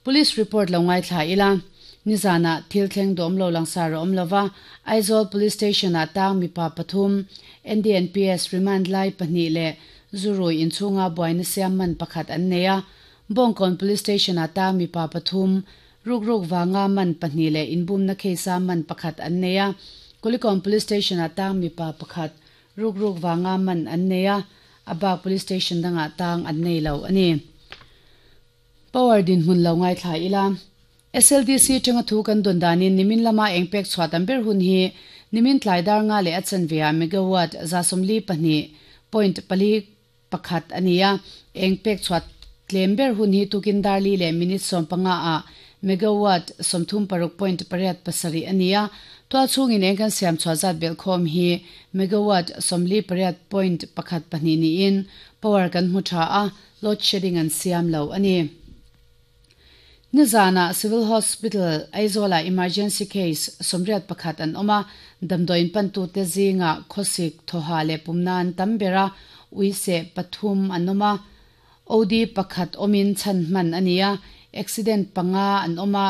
Police report lo ngaithla ila, nizanah thil thleng dawm lo langsar a awm lova, Aizawl Police Station-ah tang mipa pathum, NDNPS remand lai pahnih leh zurui inchhunga buaina siam man pakhat an nei a. Bawngkawn Police Station-ah tang mipa pathum, rukruk vanga man pahnih leh inbumna case-a man pakhat an nei a. Kulikawn Police Station-ah tang mipa pakhat, rukruk vanga man an nei a, a bak Police Station dangah tang an nei lo a ni. Power dinhmun lo ngaithla ila. SLDC atanga thu kan dawn danin nimin lama eng pek chhuah tam ber hun hi nimin tlai dar nga leh a chanve ah megawatt 42 point pali pakhat a ni a, eng pek chhuah tlem ber hun hi tukin dar li leh minute 15 ah megawatt 36 point pariat pasarih a ni a, tual chhungin eng kan siam chhuah zat belhkhawm hi megawatt 48 point pakhat pahnih niin power kan hmu tha a, Load shedding an siam lo a ni. Nizanah Civil Hospital, Aizawlah emergency case 81 an awm a, damdawiin pantute zingah khawsik, thawha leh pumna an tam ber a, uiseh pathum an awm a, OD pakhat awmin chhan hman a ni a, accident panga an awm a,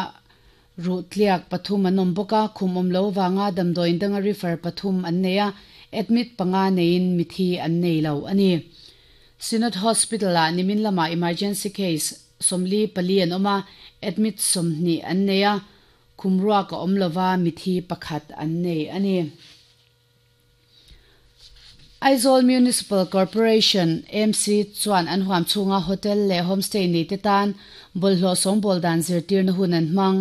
ruh tliak pathum an awm bawk a, khum awm lo vanga damdawiin danga refer pathum an nei a, admit panga neiin mithi an nei lo a ni. Synod Hospital-ah nimin lamah emergency case 44 an awm a, admit 20 an nei a, khum ruak a awm lova mithi pakhat an nei a ni. Aizawl Municipal Corporation, MC, chuan an huam chhunga hotel leh homestay neite tan bawlhhlawh sawngbawl dan zirtirna hun an hmang.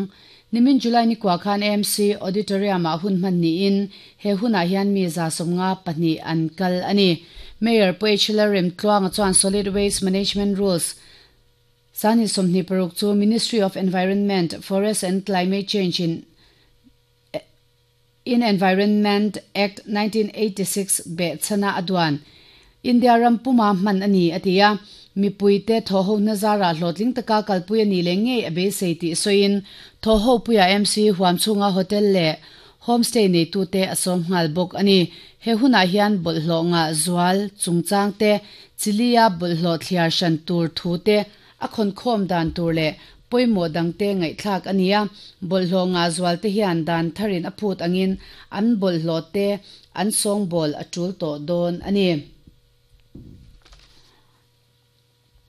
Nimin July ni kua khan AMC Auditorium-ah hun hman niin he hunah hian mi 52 an kal a ni. Mayor Pu H. Lalremtluanga chuan Solid Waste Management Rules 2026 chu Ministry of Environment, Forest and Climate Change in in Environment Act 1986 behchhana a duan India ram puma hman a ni, a ti a. Mipuite thawhho nazara hlawhtling taka kalpui a ni leh ngei a beisei tih sawiin thawhho puia MC huam chhunga hotel leh homestay neitute a sawm nghal bawk a ni. He hunah hian bawlhhlawh ngah zual chungchang te, chilia bawlhhlawh thliar hran tur thu te, A khawnkhawm dan tur leh pawimawh dangte ngaihthlak a ni a, bawlhhlawh ngah zualte hian dan tharin a phut angin an bawlhhlawhte an sawngbawl a tul tawh dawn a ni.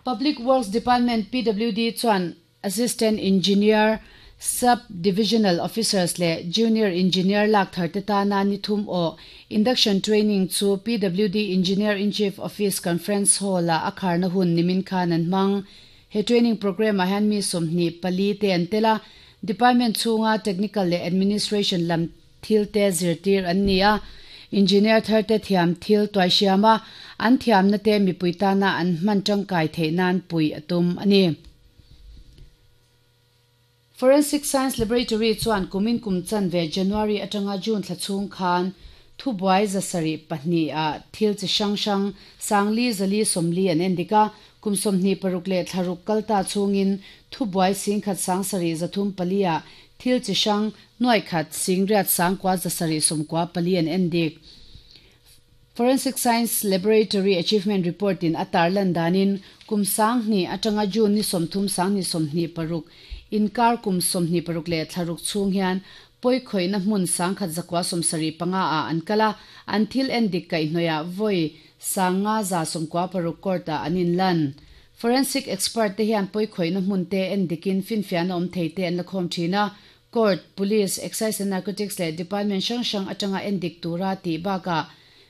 Public Works Department, PWD, chuan Assistant Engineer, Sub Divisional Officers leh Junior Engineer lak tharte tana ni thum aw Induction Training chu PWD Engineer-in-Chief Office Conference Hall-ah a kharna hun nimin khan an hmang. He training programme-ah hian mi 24 te an tel a, Department chhunga Technical leh Administration lam thil te zirtir an ni a, Engineer tharte thiam thil tuaihriam a, an thiamna te mipui tana an hman tangkai theih nan pui a tum a ni. Forensic Science Laboratory chuan kumin kum chanve January atanga June thla chhung khan thubuai 72 ah thil chi hrang hrang 440 an endik a, kum 26 leh thla ruk kal ta chhungin thubuai 17,704 ah thil chi hrang 108,994 an endik. Forensic Science Laboratory Achievement Report in a tarlan danin kum 2000 atanga June ni 30 2026 inkar kum 26 leh thla ruk chhung hian pawikhoihna hmun 1975 ah an kal a, an thil endik kaihhnawih vawi 5196 court ah an inlan. Forensic expert te hian pawikhoihna hmun te endikin finfiahna awm thei te an la khawm thin a, Court, Police, Excise and Narcotics leh Department hrang hrang atanga endik tura tih bakah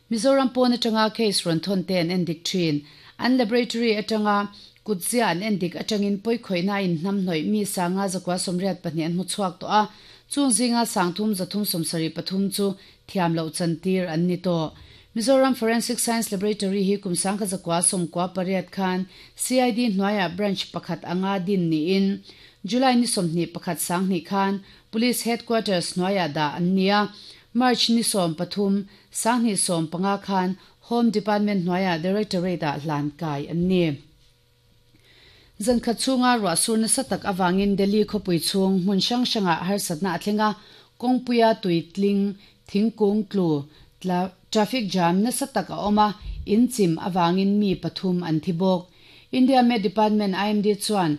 Mizoram pawn atanga case rawn thawn te an endik thin. An laboratory atanga kutzia an endik atangin pawikhoihna a inhnamhnawih mi 582 an hmu chhuak tawh a, chung zinga 3373 chu thiam loh chantir an ni tawh. Mizoram Forensic Science Laboratory hi kum 1998 khan CID hnuaiah branch pakhat anga din niin July ni 21 2000 khan Police Headquarters hnuaiah dah an ni a, March ni 13 2015 khan Home Department hnuaiah Directorate ah hlan kai an ni. Zankhat chhunga ruah sur nasa tak awangin Delhi khawpui chhung hmun hrang hrangah harsatna a thleng a, kawngpuia tui tling, thingkung tlu, traffic jam nasa tak a awm a, in chim awangin mi pathum an thi bawk. India Met Department, IMD, chuan.